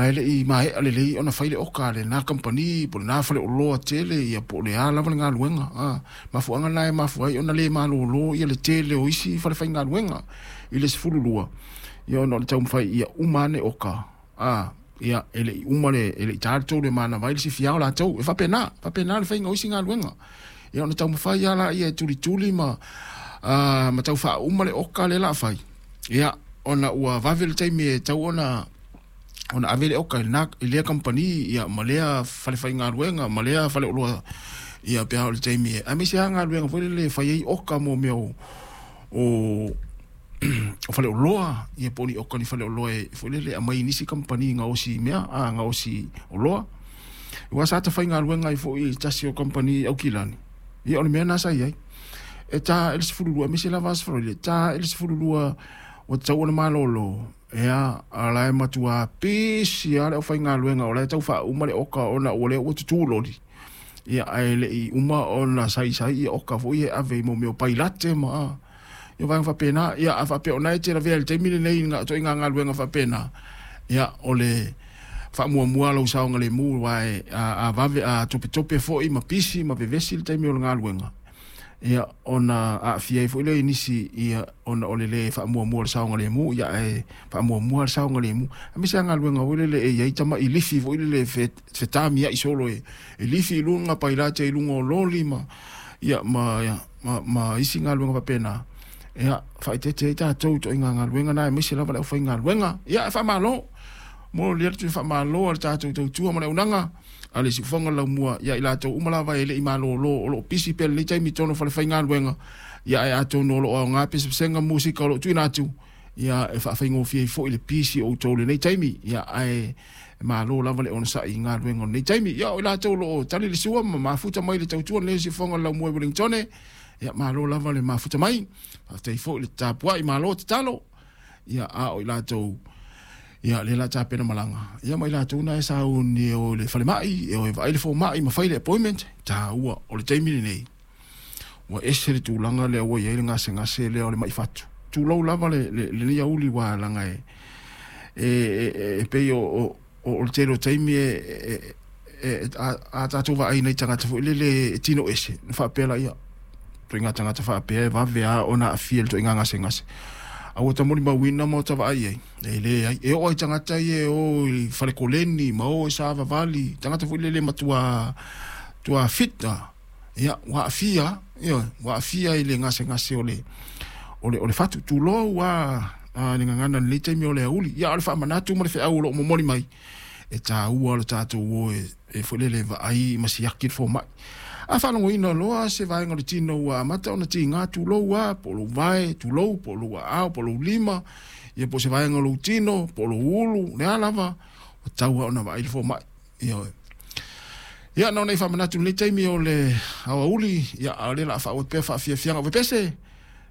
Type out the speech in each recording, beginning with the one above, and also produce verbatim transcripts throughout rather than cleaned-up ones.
la e le'i maea lelei ona fai le oka a lenā kamupani po o lenā faleoloa tele ia po o le a lava le galuega a mafuaaga lena e mafua ai ona lē malōlō ia le tele o isi falefaigaluega i le sefululua ia ona o le taumafai ia uma ane oka a ia e le'i uma le e le'i tā le tolu e manava ai le sifi ao latou e faapena faapena le faiga o isi galuega ia ona taumafai lava laia e tulituli ma a ma tau faauma le oka lea o le a fai ia ona ua vave le taimi e tau ona ona ave le oka i lena i lea kamupani ia ma lea falefaigaluega ma lea faleoloa ia pe a oo i le taimi e aemaise lava galuega foi lele e fai ai oka mo mea o o o faleoloa ia po o ni oka ni faleoloa e foi lele e aumai i nisi kamupani gaosi mea a gaosi oloa aua sa ta faigaluega ai foi i se tasi o kamupani i Aukilani ia o le mea lena sa i ai e ta ae le sefululua aemaise lava Aso Faraile e ta ae le sefululua ua tatau ona malōlō ia a o la e matuā pisi lava le aufaigaluega o la e tau faauma le oka ona ua lea ua tutū loli ia ae le i uma ona saisai ia oka foi ia e ave i mo mea o pailate ma ia vaega faapena ia a faapea o lena e te lavea i le taimi lenei i ituaiga galuega faapena ia o le faamuamua lou saogalemu aua e a, a vave a topetope foi ma pisi ma vevesi le taimi o le galuega ia ona aafia ai foi lea i nisi ia ona o le lē faamuamua o le saogalemu ia ae faamuamua le saogalemu aemaise lava galuega foi lele e i ai tama'i lifi foi lele e fetamia'i solo e, e lifi i luga pailate i luga o loli ma ia ma, ma, ma isi galuega faapena ia faaeteete ai tatou i ituaiga galuega na aemaise lava le aufaigaluega ia ae faamalo momoli atu le faamalo a le tatou tautua ma le auaunaga a le siufofoga o le laumua ia i latou uma lava e le i malōlō o lo o pisi pea i lenei taimi i totonu o falefaigaluega ia ae atonu o lo o aoga pesepesega ma musika o lo o tuuina atu ia e faafaigofie ai foi le pisi o outou i lenei taimi ia ae malo lava le onosai i galuega o lenei taimi ia o i latou o lo o tali le sua ma mafuta mai le tautua lenei o siufofoga o le laumua i Wellingtone ia malo lava le mafuta mai faafetai foi le tapuai malo tatalo ia a o i latou ia lea o le a tapena malaga ia ma i latou na e sauni e o i le falemai e o e vaai le fomai ma fai le appointment taua o le taimi lenei ua ese le tulaga lea ua i ai le gasegase lea o le mai fatu tulou lava le, le, lenei auli ua laga e e, e, e pei o, o, o le tele o taimi e, e, e, a, a tatou vaai nai tagata foi lele e tino ese na faapea laia ituaiga tagata faapea e vave lava ona aafia i le ituaiga gasegase a ua ta molimauina ma ota vaai ai e leai e oo ai tagata ia e o i falekoleni ma o i savavali tagata foi lele matuā tuā fit a ia ua aafia ioe ua aafia i le gasegase o le o le o le fatu tulou a a le gagana i lenei taimi o le aoauli ia a o le faamanatu ma le feau o lo o momoli mai e taua lo tatou o e, e foi lele vaai ma siaki le fomai a faalogoina loa se vaega o le tino ua amata ona tiga tulou a po o lou vae tulou po o lou aao po o lou lima ia po o se vaega o lou tino po o lou ulu le a lava ua tatau lava ona vaai le fomai ioe ia na ona i faamanatu i lenei taimi o le aoauli ia a o lea o le a faaauau atu pea faafiafiaga o pepese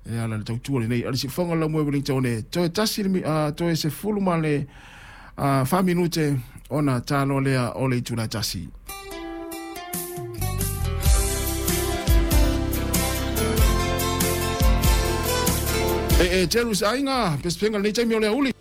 e ala i le tautua lenei a le siufofoga o le laumua i Wellington toe tasi le uh, toe sefulu ma le uh, fa minute ona ta loa lea o le itula e tasi. E e telu se aiga pesepega lenei taimi o le aoauli.